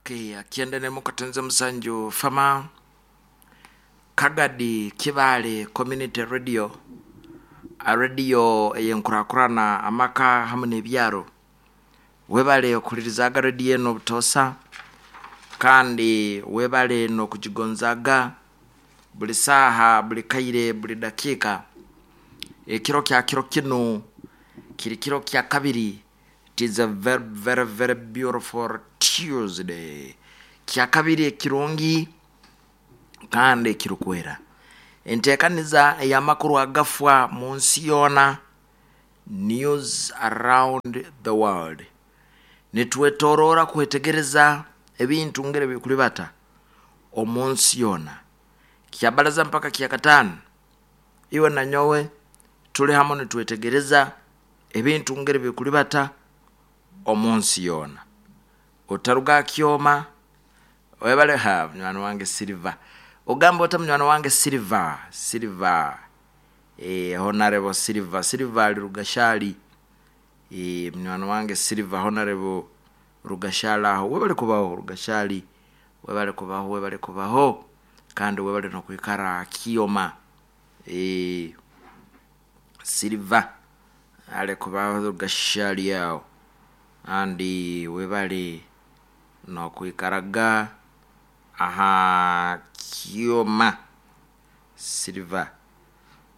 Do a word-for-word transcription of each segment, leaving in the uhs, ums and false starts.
Okay, akienda nemukatenze musanju fama Kagadi Kibale Community Radio, a radio eyenkurakurana amaka hamu n'ebyaro. Webale okulirizaga radio eno obutosa, kandi webale n'okugigonzaga buli saaha, buli kaire, buli dakiika. Ekiro kya kiro kinu kiri kiro kya kabiri. It is a very very very beautiful Tuesday, kya kabiri ekirungi kandi ekirukwera. Enteekaniza ey'amakuru agafwa mu nsi yoona, news around the world. Nitwetoroora kwetegereza ebintu ngeri bikulibata omu nsi yoona. Kyabalaza mpaka kyakataano, iwe na nyowe tuli hamu nitwetegereza ebintu ngeri bikulibata omu nsi yoona. Otaruga akyoma. Webale ha munywani wange Silver. Ogamba ota munywani wange Silver? Silver, eh, Honorable Silver. Silver ali Rugashali. Eh, munywani wange Silver, Honorable Rugashali aho. Webale kubaho Rugashali, webale kubaho, webale kubaho, kandi webale nokwikara akioma. Eh, Silver ale kubaho Rugashali aho, kandi webale nokwikaraga aha kyoma. Silver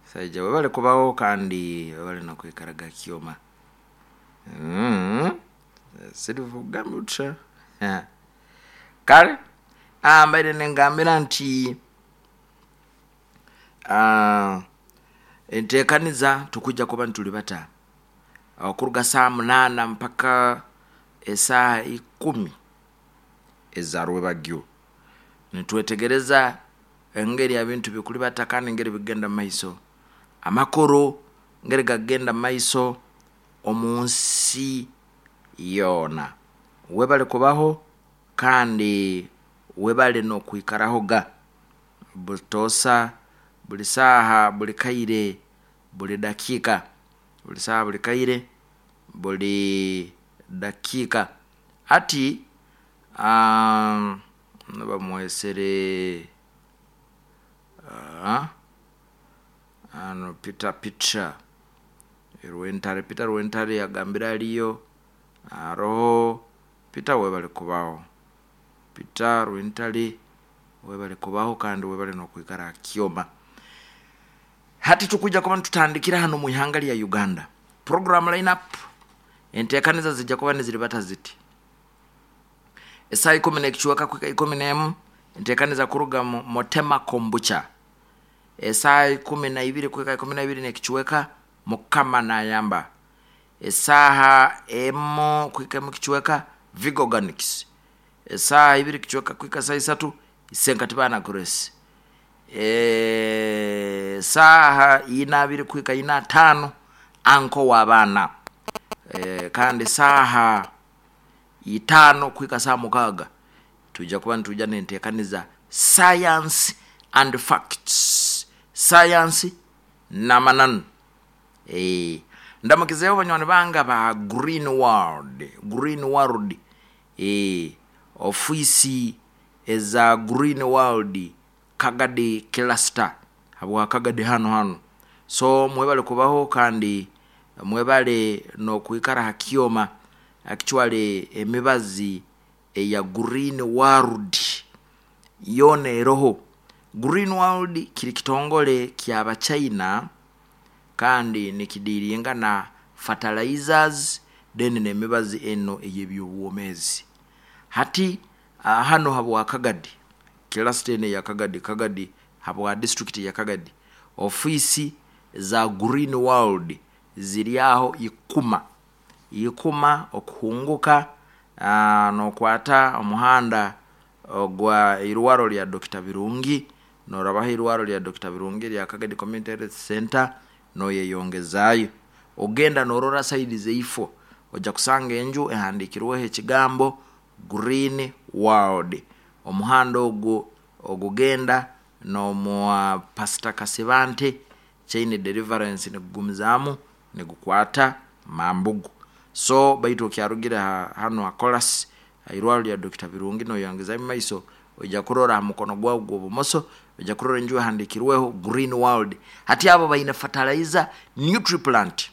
saija, webale kubaho kandi webale nokwikaraga kyoma. mm. Silver ogamba otya? Kale ah, mbaire nengambira nti ah, enteekaniza tukujja kuba nitulibata okuruga saa munaana mpaka esaaha ikumi eza rwebagyo, nitwetegereza engeri ebintu bikulibata kandi engeri bigenda mumaiso, amakuru ngeri gagenda mumaiso omu nsi yoona. Webale kubaho kandi webale n'okwikarahoga butoosa, buli saaha, buli kaire, buli dakiika, buli saaha, buli kaire, buli dakiika. Hati um, bamwesere uh, ano Peter Peter Rwentare. Peter Rwentare agambire aliyo aroho. Peter, webale kubaho. Peter Rwentare, webale kubaho kandi webale n'okwikara akioma. Hati tukujja kuba nitutandikira hano mu ihanga lya Uganda. Program lineup, enteekaniza zijja kuba niziribata ziti: esaaha ikumi n'ekichweka kwika ikumi n'emu, enteekaniza kuruga mu Motema Kombucha. Esaaha ikumi na ibiri kwika ikumi na ibiri n'ekichweka, Mukama Nayamba. Esaaha emu kwika emu kichweka, Vigoganics. Esaaha ibiri kichweka kwika saa isatu, Isenkatibana Grace. Eh, saaha ina abiri kwika ina tano, anko w'abaana. E, kandi saaha itaano kwika saa mukaaga, tujja kuba nituja nenteekaniza Science and Facts, science n'amananu. E, ndamukizeeho banywani bange ba Green World. Green World, e, ofiisi eza Green World Kagadi Cluster, habwa Kagadi hano hano. So mwebale kubaho kandi mwebale n'okwikara ha kyoma. Actually emibazi eya Green World yoona eroho. Green World kiri kitongole kyabachina kandi nikidiringa na fertilizers, then n'emibazi eno ey'ebyobwomeezi. Hati uh, hano habwa Kagadi cluster eno eya Kagadi, Kagadi habwa district ya Kagadi, ofiisi za Green World ziri aho ikuma ikuma okuhunguka uh, nokwata omuhanda ogwa irwaro lya Doctor Birungi, norabaho irwaro lya Doctor Birungi lya Kagadi Community Health Center, noyeyongezayo ogenda norora side zeifo, ojja kusanga enju ehandikirweho ekigambo Green World. Omuhanda ogwo ogugenda n'omwa Pastor Kasibante Chain Deliverance, nigugumizaamu nigukwata Mambugu. So baitu okyarugire ha, hano ha Colas Irwaro lya Doctor Birungi noyangiza maiso ojja kurora mukono gwawe gw'obumoso, ojja kurora enju ehandikirweho Green World. Hati abo baine fertilizer Nutriplant,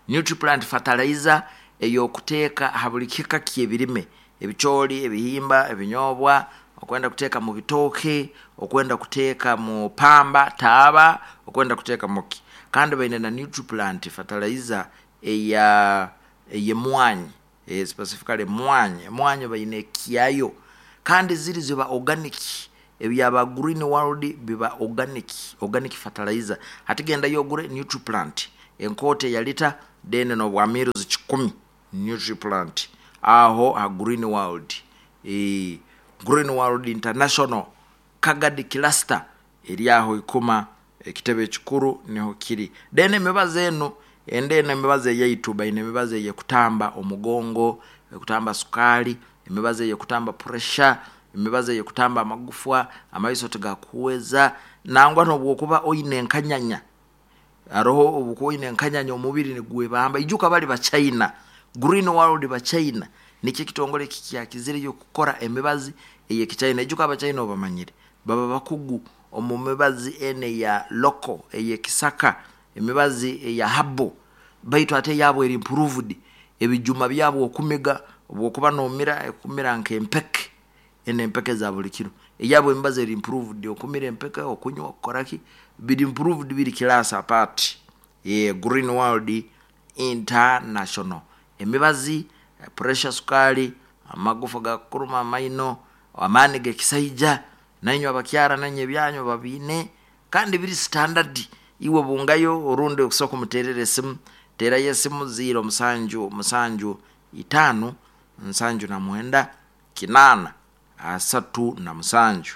Nutriplant fertilizer ey'okuteeka ha buli kika ky'ebirime, ebicooli, ebihimba, ebinyobwa, okwenda kuteeka mu bitooke, okwenda kuteeka mu pamba taaba, okwenda kuteeka muki. Kandi baine na Nutriplant fertilizer eya ey'emwanyi, eh, specifically emwanyi. Emwanyi baine ekyayo, kandi ziri ziba organic. Ebyaba Green World biba organic, organic fertilizer. Hati gendayo ogure Nutriplant enkoota eya lita, then n'obwa mils kikumi Nutriplant aho ha Green World. E, Green World International Kagadi Cluster eri aho ikuma, ekitebe ekikuru niho kiri. Then emibazi eno ende eno emibazi eyaitu, baine emibazi eyekutamba omugongo, ekutamba sukaali, emibazi eyekutamba pressure, emibazi eyekutamba amagufwa, amaiso tigakuhweza, nangwa n'obwokuba oine enkanyanya, haroho obukuba oine enkanyanya omubiri nigwebamba. Ijuka bali Bachina, Green World Bachina nikyo ekitongole kikyakizireyo kukora emibazi ey'ekichina. Ijuka Abachina obamanyire, baba bakugu omu mibazi ene eya local, ey'ekisaka, emibazi eya habo, baitu ate eyabo eri improved. Ebijuma byabo okumiga, obwokuba nomira ekumira nk'empeke, ene empeke za buli kiro. Eyabo emibazi eri improved, okumira empeke, okunywa, okukoraki, biri improved, biri class apart. E, Green World International, emibazi pressure, sukali, amagufa gakuruma, amaino, amaani g'ekisaija, nainywe abakyara nainywe ebyanyu babiine, kandi biri standard. Iwe bungayo orundi okusobola kumuteerera esimu, teerayo esimu ziro musanju musanju itaano nsanju na mwenda kinaana asatu na musanju.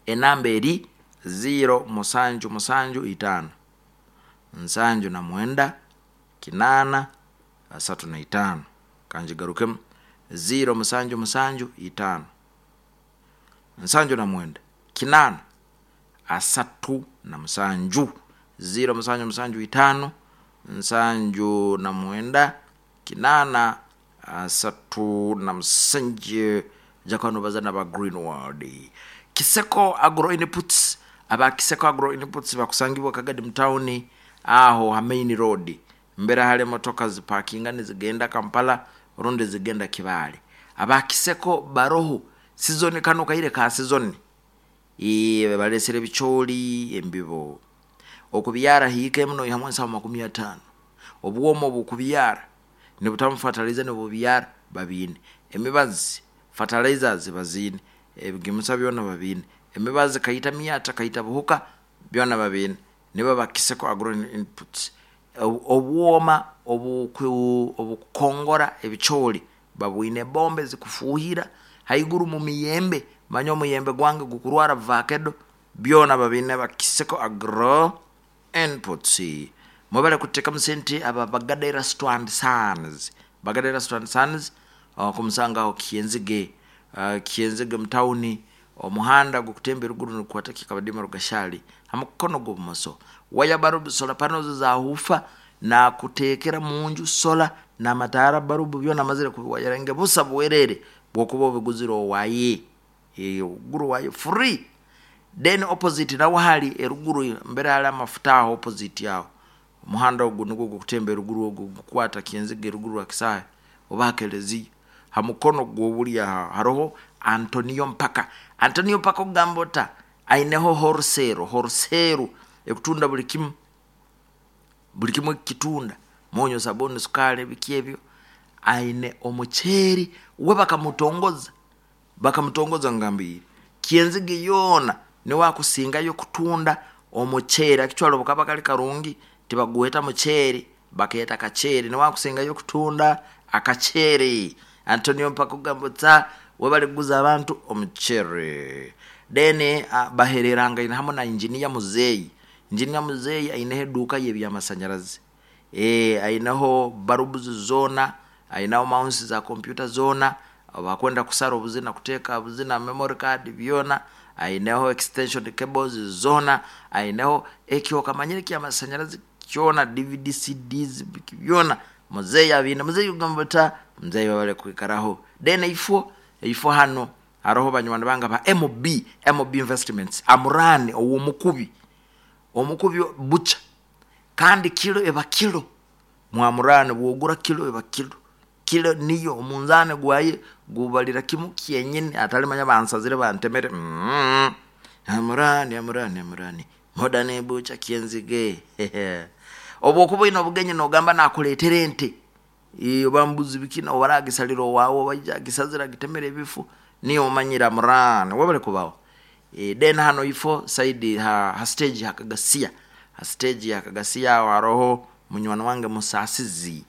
Enamba eri ziro musanju musanju itaano nsanju na mwenda kinaana asatu na itaano. Kangigarukemu, ziro musanju musanju itaano nsanju na mwenda kinaana asatu na musanju, ziro musanju musanju itaano nsanju na mwenda kinaana asatu na musanju. Ojja nobaza naba Green World. Kiseko Agro Inputs, aba Kiseko Agro Inputs bakusangibwa Kagadi mutawuni aho ha main road, mbere hali emotoka zipakinga nizigenda Kampala orundi zigenda Kibaale. Aba Kiseko baroho sizoni, kano kaire ka sizoni, balesere ebicooli, embibo okubyara hiika emu noihamu ensaho makumi ataano. Obwomo obukubyara nibutamu fertilizer nibubyara babiine, emibazi fertilizers baziine, ebigimusa byona babiine, emibazi kaita myata kaita buhuka byona babiine, nibo ba Kiseko Agro Inputs. Obwoma obukukongora ebicooli babwine, bombe zikufuuhira haiguru mu miyembe, manya omuyembe gwange gukurwara vakedo, byona babiine ba Kiseko Agro Inputs. Mwebale kuteekamu sente aba Bagada Erasto and Sons, Bagada Erasto and Sons okumusangaho Kyenzige, uh, Kyenzige mutawuni, omuhanda gukutemba eruguru nigukwata Kikabadima Rugashali ha mukono gw'obumoso. Waya barubu, solar panels zahufa na kuteekera munju solar n'amataara barubu byona amazire kubiwayaringa busa bwerere bwokuba obiguzire owaye, ogura owaye free. Then opposite nawo hali eruguru mbere hali amafuta aho opposite aho, omuhanda ogu nugwo gukutemba eruguru ogu gukwata Kyenzige eruguru ha kisaahe oba ha kelezia, ha mukono gw'obulyo haroho Antonio Mpaka. Antonio Mpaka okugamba ota aineho wholesale, wholesale ekutunda buli kimu, buli kimu ekitunda, munyu, sabuni, sukali, biki ebyo. Aine omuceeri we bakamutongoza, bakamutongoza ngambire Kyenzige yoona niwe akusingayo kutunda omuceeri. Actually obukaba kali karungi tibagweta muceeri, bakeeta kaceeri, niwe akusingayo kutunda akaceeri. Antonio Mpaka okugamba ota webale kuguza abantu omuceeri. Then uh, bahererangaine hamu na engineer Muzeeyi. Engineer Muzeeyi aineho eduuka y'ebyamasanyarazi, e, aineho barubs zoona, aineho mouse za kompyuta zoona, bakwenda kusara obuzina, kuteeka buzina memory card byona, aineho extension cables zoona, aineho ekyo kamanyire ky'amasanyarazi kyona, D V D, C Ds byona Muzeeyi abiine. Muzeeyi ogamba ota Mzee webale kwikaraho. Then ifo ifo hano haroho banywani bange ba M B M B Investments, Amurani ow'omukubi, omukubi bucha, kandi kilo eba kilo. Mwamurani bwogura kilo eba kilo, kilo niyo omunzani gwaye gubalira kimu kyenyini, atalimanya bansazire bantemere. mm. Amurani, Amurani, Amurani Modern Bucha Kyenzige. Obwokuba oine obugenyi nogamba nakuletera ente oba mbuzi bikina, oba aragisalira owawe, oba aija agisazire agitemere ebifu, niyo omanyire. Amurani webale kubaho. e, then hano ifo side ha, ha stage hakagasiya, ha stage hakagasiya aho haroho munywani wange Musasizi.